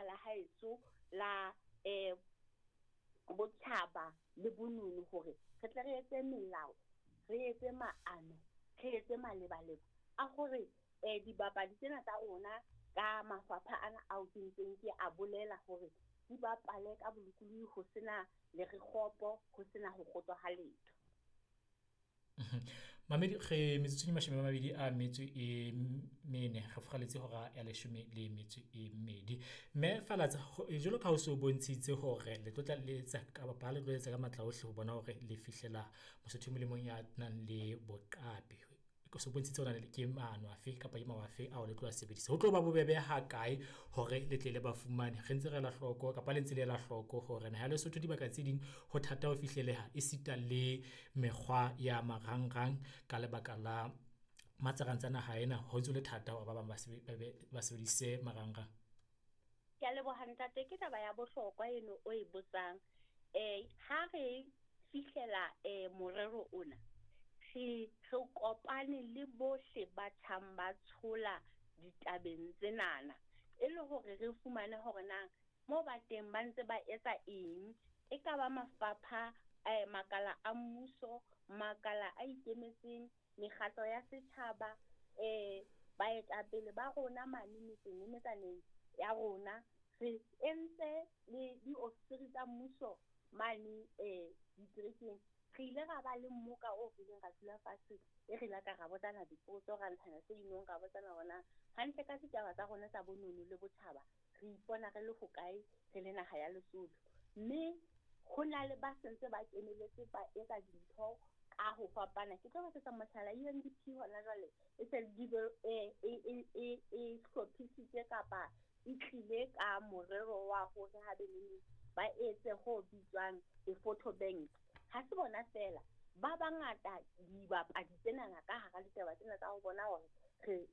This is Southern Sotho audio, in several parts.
lena la haeso la botjhaba le bonono hore re tle re etse melao, re etse maano, re etse malebaleba a hore dibapadi tsena tsa rona ka mafapha ana ao ke ntseng ke a bolela hore di bapale ka bolokolohi ho sena le re kgopo, ho sena ho kgotswa ha letho. Mamedi re metsotso e 24 re furaletse hora ya 12. Mme Falatsa jwalo ka ha o so bontshitse hore le tlo tla le etsa kapa le tlo etsa ka matla ohle ho bona hore le fihlela Mosotho e mong le mong ya nang le boqapi. O so bontshitse hore ke maano afe kapa ke mawa afe ao le tlo a sebedisa. Ho tlo ba bobebe ha kae hore le tle le ba fumane? Re ntse re ela hloko kapa le ntse le ela hloko hore naha ya Lesotho dibaka tse ding ho thata ho fihleleha esita le mekgwa ya marangrang ka lebaka la matsarantsana naha ena, ho ntso le thata hore ba bang ba sebedise marangrang. Ke a leboha ntate, ke taba ya bohlokwa eno o e botsang. Ha re fihlela morero ona, re kopane le bohle ba tjhang ba tshola ditabeng tsenana, e le hore re fumane hore na mo ba teng ba ntse ba etsa eng. E ka ba mafapha, makala a mmuso, makala a ikemetseng, mekgatlo ya setjhaba, baetapele ba rona mane metseng le metsaneng ya rona. Re entse le diofisiri tsa mmuso mane diterekeng. Re ile ra ba le mmoka o re ileng ra dula fatshe, e re ile ka ra botsana dipotso, ra ntshana se inong, ra botsana hore na hantle ka ditaba tsa rona tsa bonono le botjhaba re ipona re le hokae re le naha ya Lesotho. Mme ho na le ba sentse ba keneletse ba etsa dintho ka ho fapana. Ke tlo etsetsa mohlala, UNDP hona jwale e se e hlophisitse kapa e tlile ka morero wa hore ha be neng ba etse ho bitswang a photo bank. Ha se bona feela, ba bangata dibapadi tsenana ka hara ditaba tsena tsa ho bona hore re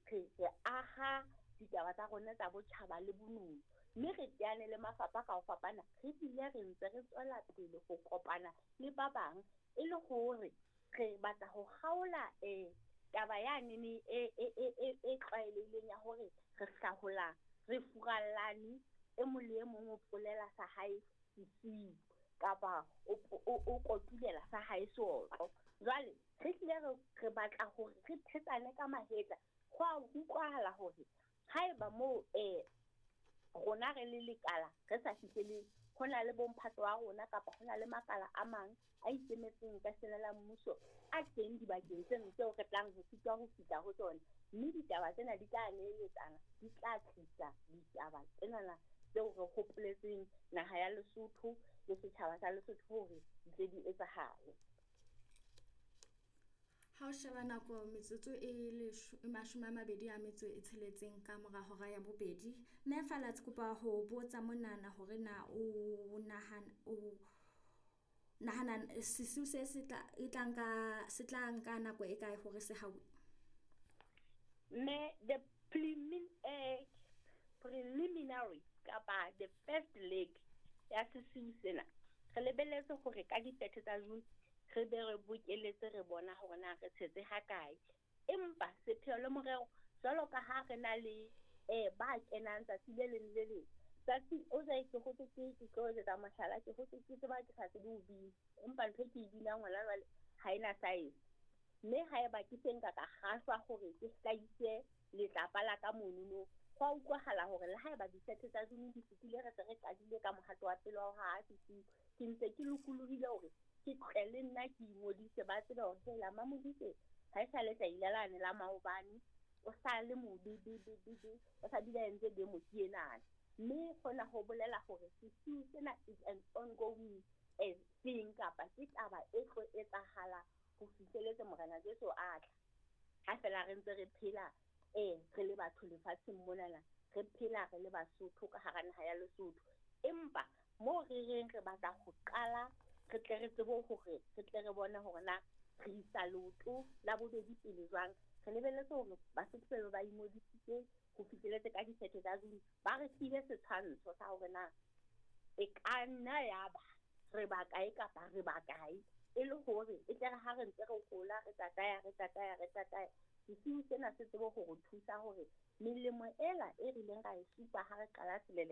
aha ditaba tsa rona tsa botjhaba le bonono. Mme re teane le mafapha ka ho fapana, re bile re ntse re tswela pele ho kopana le ba bang e le hore re batla ho kgaola taba yane e tlwaelehileng ya hore re hlahola, re furallane, e mong le e mong o polela sa hae sesiu kapa o kotulela sa hae seotlo. Jwale re hlile re batla hore re thetsane ka mahetla. Ho a utlwahala hore haeba moo rona re le lekala re sa fihlele, ho na le bomphato wa rona kapa ho na le makala a mang a ikemetseng ka sena la mmuso a teng dibakeng tseno tseo re tlang ho sitwa ho fihla ho tsona. Mme ditaba tsena di tla neeletsana, di tla tlisa ditaba tsenana tseo re hopoletseng naha ya Lesotho le setjhaba sa Lesotho hore di tle di etsahale. Ha o sheba nako metsotso e 26 ka mora hora ya bobedi. Mme Falatsa kopa ho botsa monana hore na o nahana sesiu se se tla nka nako e kae hore se hawe? Mme the preliminary kapa the first leg ya sesiu sena, re lebelletse hore ka di-30 tsa June re be re bokeletse re bona hore na re tshetse ha kae. Empa sepheo le morero, jwalo ka ha re na le ba kenang tsatsi le leng le leng, tsatsi o jwale ke hotse ke tlo etsa mohlala, ke hotse ke tseba ke sa tsebe ho bina, empa ntho e ke e binang hona jwale ha ena size. Mme haeba ke se nka ka kgahlwa hore ke hlahise letlapa la ka monono, ho a utlwahala hore le haeba di-30 tsa June di fetile, re se re qadile ka mohato wa pele wa ho haha sesiu, ke ntse ke lokolohile hore ke tle le nna ke ingodise, ba tsebe hore hela Mamodise ha e sa le tlaila lane la maobane, o sa le mobe be be be be, o sa bile a entse demo ke enana. Mme hona ho bolela hore sesiu sena is an ongoing thing, kapa ke taba e tlo etsahala ho fihleletse Morena Jesu a tla. Ha fela re ntse re phela re le batho lefatsheng monana, re phela re le Basotho ka hara naha ya Lesotho. Empa moo re reng re batla ho qala, re tle re tsebe hore re tle re bone hore na re isa leoto la bobedi pele jwang. Re lebelletse hore Basotho ba be ba ingodisitse ho fihleletse ka di-30 tsa June, ba re file setshwantsho sa hore na e ka nna ya ba re ba kae kapa re ba kae, e le hore e tle re ha re ntse re hola, re tataya, re tataya, re tataya, sesiu sena se tsebe ho re thusa hore melemo ela e rileng ra e supa ha re qala selele